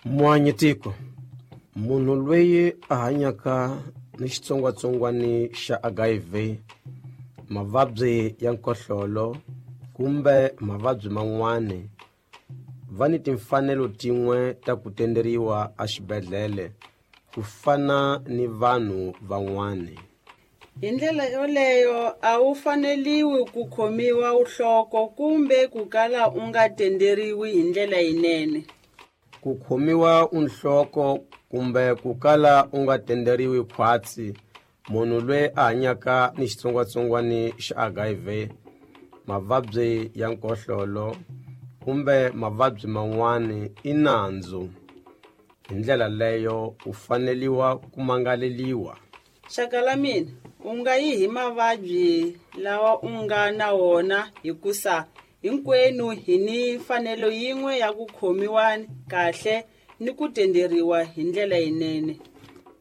Muanyitiko munhu loyi a hanyaka ni xitsongwatsongwana xa HIV, mavabyi ya nkohlolo kumbe mavabyi man'wana va ni timfanelo tin'we ta ku tenderiwa exibedhlele ku fana ni vanhu van'wana. Hi ndlela yoleyo a wu faneliwi ku khomiwa uhloko kumbe ku kala u nga tenderiwi hi ndlela yinene. Ku khomiwa unhloko kumbe ku kala u nga tenderiwi khwatsi munhu loyi a hanyaka ni xitsongwatsongwana xa HIV, mavabyi ya nkohlolo kumbe mavabyi man'wana i nandzu. Hi ndlela leyo u faneliwa ku mangaleliwa. Xaka la mina, u nga yi hi mavabyi lawa u nga na wona hikusa hinkwenu hi ni mfanelo yin'we ya ku khomiwa kahle ni ku tenderiwa hi ndlela yinene.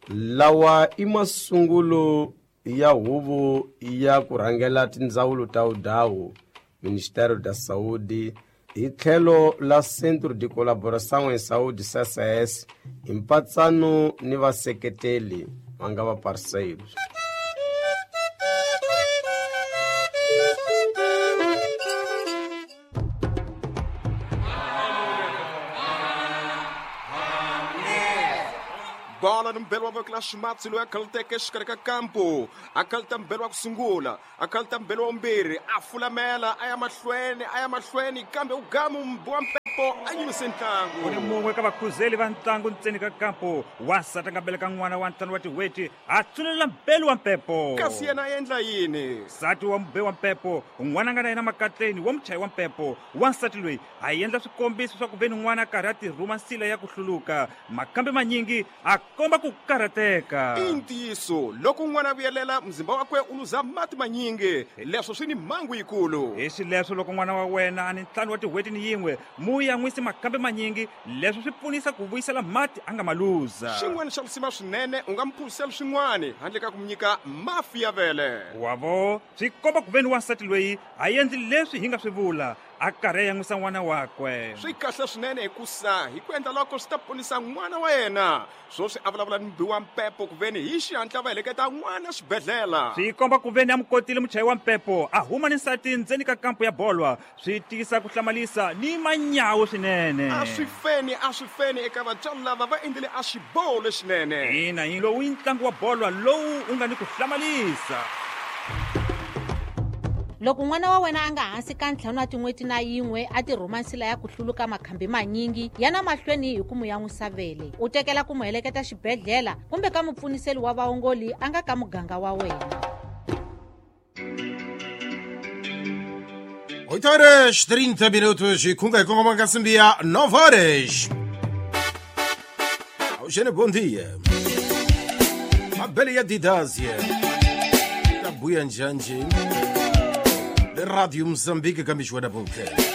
Lawa i masungulo ya huvo ya ku rhangela tindzawulo ta vudawu, Ministério da Saúde, hi tlhelo la Centro de Colaboração em Saúde CCS, hi mpatsano ni vaseketeli va nga va parceiros. Bola ni mbelo wa voko la ximatsi loyi a khaluteke exikarhi ka kampo, a khaluta mbelo wa ku sungula, a khaluta mbelo wa vumbirhi, a fulamela a ya mahlweni, a ya mahlweni, kambe u gamu wa mpepo a yimise ntlangu. U ni mun'we ka vakhuzeli va ntlangu ntseni ka kampo, wansati a nga beleka n'wana wa 5 wa tin'hweti, a tsunelela mbelu wa mpepo. Kasi yena a endla yini? Nsati wa mube wa mpepo, n'wana a nga na yena makatleni wa muchayi wa mpepo, wansati loyi a endla swikombiso swa ku ve ni n'wana a karhi a tirhuma nsila ya ku hluluka, makambe manyingi a komba ku karhateka. I ntiyiso, loko n'wana a vuyelela, muzimba wakwe u luza mati manyingi, leswo swi ni mhangu yikulu. Hi xileswo loko n'wana wa wena a ni 5 wa tin'hweti ni yin'we, mu yan'wisi makambe manyingi, leswo swi pfunisa ku vuyisela mati a nga ma luza. Xin'wana xa risima swinene, u nga mu phuzisela swin'wana handle ka ku mu nyika mafi ya vele. Wavo, swi komba ku ve ni wansati loyi a endli leswi hi nga swi vula, a karhi a yan'wisa n'wana wakwe. Swi kahle swinene hikusa hi ku endla loko swi ta ponisa n'wana wa yena. Swoswi a vulavula ni mubi wa mpepo ku veni hi xihatla va heleketa n'wana xibedhlele. Swi komba ku veni a mu kotile muchayi wa mpepo a huma ni nsati ndzeni ka kampo ya bolwa, swi tiyisa ku hlamalisa ni manyawu swinene. A swi feni, a swi feni eka vatswari lava va endlile a xiboho lexinene. Ina, hi lowu i ntlangu wa bolwa lowu u nga ni ku hlamalisa. Loko n'wana wa wena a nga hansi ka 5 wa tin'hweti na yin'we a tirhuma nsila ya ku hluluka makhambi manyingi, yana mahlweni hi ku mu yan'wisa vele, u tekela ku mu heleketa xibedhlele kumbe ka mupfuniseli wa vaongoli a nga ka muganga wa wena. 8 horas 30 minutos e kunga kongoma nkasimbi ya 9 horas. Eugênio, bom dia. Mabele ya Didásia. Tabuya Njanji. Rádio Moçambique, Cambishoa da Boca.